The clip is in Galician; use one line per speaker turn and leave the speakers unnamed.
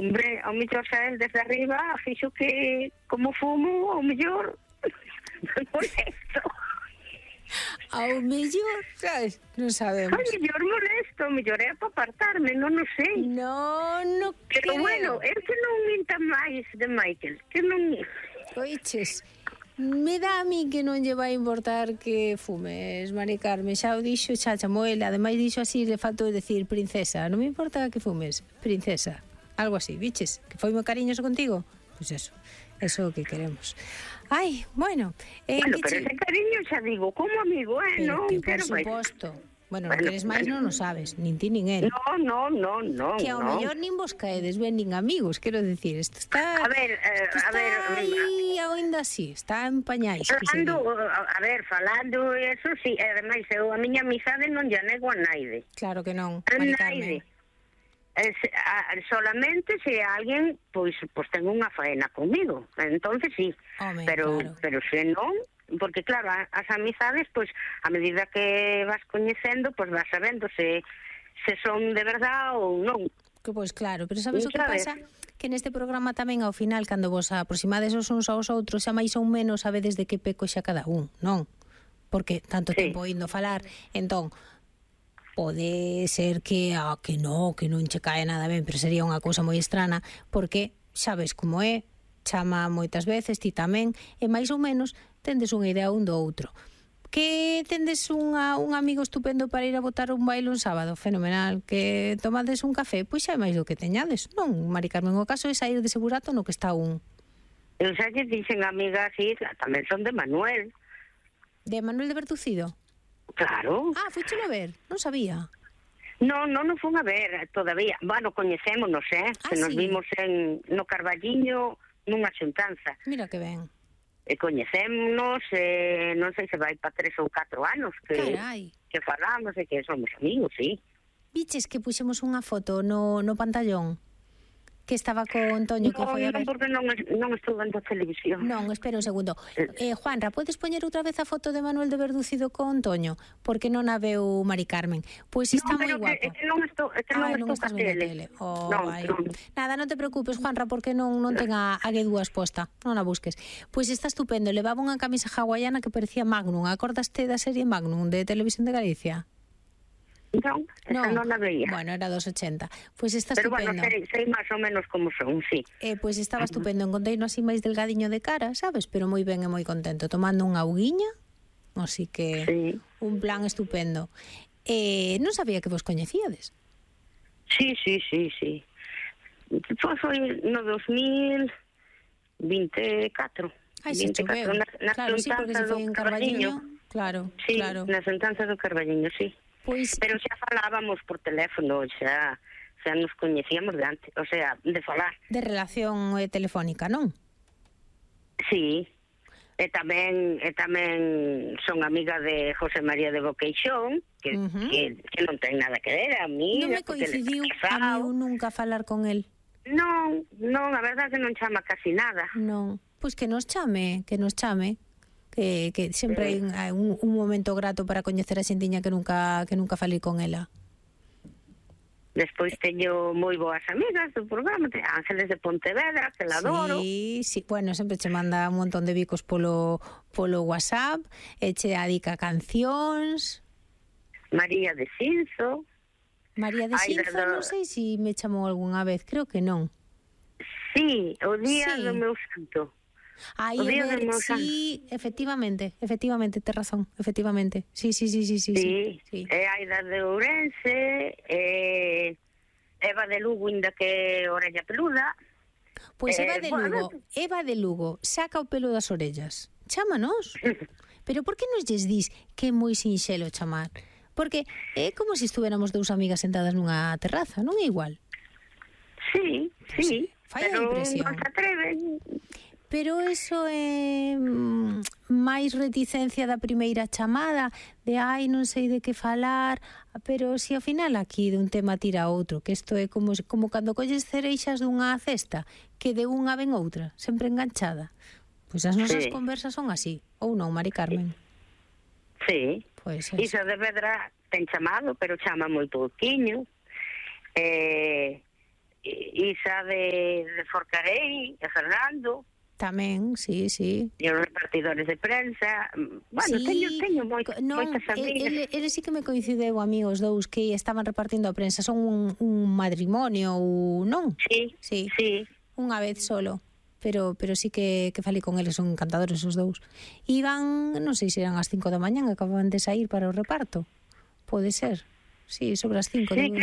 Hombre, ao mellor xa el desde arriba fixo que, como fumo, ao mellor molesto.
Ao mellor, sabes? Non sabemos.
Ao mellor é para apartarme, non sei.
No
Pero
creo.
bueno, é que non minta máis de Michael, que non...
Oiches, me dá a mí que non lle vai importar que fumes, Mari Carmen. Xa o dixo, xa chamou ele. Ademais dixo así, le faltou decir princesa. Non me importa que fumes, princesa. Algo así, biches? Que foi moi cariñoso contigo? Pois eso é o que queremos. Ai, bueno,
Bueno, pero ese cariño xa digo, como amigo,
pero
non
que por
quero máis.
suposto. Bueno, non queres máis non o sabes, nin ti nin él.
No.
Que ao mellor nin vos caedes ben nin amigos, quero dicir, isto está...
A ver,
aí ainda así, está en pañais.
falando eso, sí, ademais eu a miña amizade non lle nego a naide.
Claro que non,
A
Mari
naide.
Carmen.
Solamente se alguén pois ten unha faena comigo, entonces sí.
Home,
pero
claro.
pero se non, porque claro, as amizades pois a medida que vas coñecendo, pois vas sabendo se son de verdad ou non.
Que pois claro, pero sabes o que
Sabes?
pasa? Que neste programa tamén ao final, cando vos aproximades os uns aos outros, xa máis ou menos sabedes de que peco xa cada un, non? Porque tanto
Sí.
tempo indo falar, entón pode ser que non che cae nada ben, pero sería unha cousa moi estrana, porque sabes como é, chama moitas veces, ti tamén, e máis ou menos tendes unha idea un do outro. Que tendes un amigo estupendo para ir a botar un baile un sábado, fenomenal. Que tomades un café, pois xa é máis do que teñades, non, Mari Carmen? O caso é sair de segurato no que está un.
Eu xa lle dixen amigas, sí, tamén son de Manuel.
De Manuel de Bertucido?
Claro.
Ah, fuichelo ver, non sabía.
Non fun a ver todavía. Bueno, coñecémonos, que nos
sí.
vimos no Carballiño nunha xuntanza.
Mira que ben.
E coñecémonos, non sei se vai para 3 ou 4 anos
Carai.
que falamos e que somos amigos, sí.
Viches que puxemos unha foto no pantallón? Que estaba con Toño, que foi a ver.
Porque non estou vendo a televisión.
Non, espera un segundo. Juanra, podes poñer outra vez a foto de Manuel de Verducido con Toño? Porque non a veu Mari Carmen. Pois está moi guapo.
É que non estou
estás
ca
vendo
tele.
tele.
Non.
Nada, non te preocupes, Juanra, porque non ten a G2 exposta. Non a busques. Pois está estupendo. Levaba unha camisa hawaiana que parecía Magnum. Acordaste da serie Magnum de Televisión de Galicia?
Non, esa non a veía.
Bueno, era dos 80. Pois está
Pero
estupendo.
bueno, sei máis ou menos como son, sí.
Pois estaba estupendo. Encontrei-no así máis delgadiño de cara, sabes? Pero moi ben e moi contento. Tomando unha auguiña. Así que
Sí.
un plan estupendo. Non sabía que vos coñecíades.
Sí. Foi no 2024.
Ai, se choveu. Claro, sí, porque se foi en Carballiño. Claro,
Sí,
claro.
nas xuntanzas do Carballiño, sí.
Pois,
Pero xa falábamos por teléfono, xa nos coñecíamos de antes, o sea, de falar.
de relación telefónica, non?
Sí. E tamén son amiga de José María de Boqueixón, que non ten nada que ver a mí.
Non me coincidiu a mí nunca falar con el.
Non, a verdade que non chama casi nada.
Non, pois que nos chame. Que sempre hai un momento grato para coñecer a xentiña que nunca falei con ela.
Despois teño moi boas amigas do programa, Ángeles de Pontevedra, que la adoro.
Sí, bueno, sempre che manda un montón de bicos polo WhatsApp, e che adica cancións.
María de Cinzo.
María de Cinzo, non sei se me chamou algunha vez, creo que non.
Sí, o día do meu santo.
Aí, sí, efectivamente, tes razón, efectivamente. Sí.
É Aida de Ourense, Eva de Lugo, inda que orella peluda.
Pois Eva de Lugo, saca o pelo das orellas. Chámanos. Pero por que nos lles dís que é moi sinxelo chamar? Porque é como se estuéramos dous amigas sentadas nunha terraza, non é igual?
Sí.
Fai a impresión.
Non se atreven.
Pero eso é máis reticencia da primeira chamada, de non sei de que falar, pero se ao final aquí dun tema tira outro, que isto é como cando colles cereixas dunha cesta, que de unha ven outra, sempre enganchada. Pois as nosas conversas son así, ou non, Mari Carmen?
Sí.
Pois
Iso de Vedra ten chamado, pero chama moi pouquiño. Isa de Forcarei, e Fernando.
Tamén, sí.
E os repartidores de prensa. Bueno,
sí,
teño moitas amigas.
Eles sí que me coincideu a mí os dous que estaban repartindo a prensa. Son un matrimonio ou non?
Sí.
Unha vez solo. Pero sí que falei con eles, son encantadores os dous. Iban, non sei se eran as 5 da mañá, acababan de sair para o reparto. Pode ser. Sí, sobre as 5.
Sí,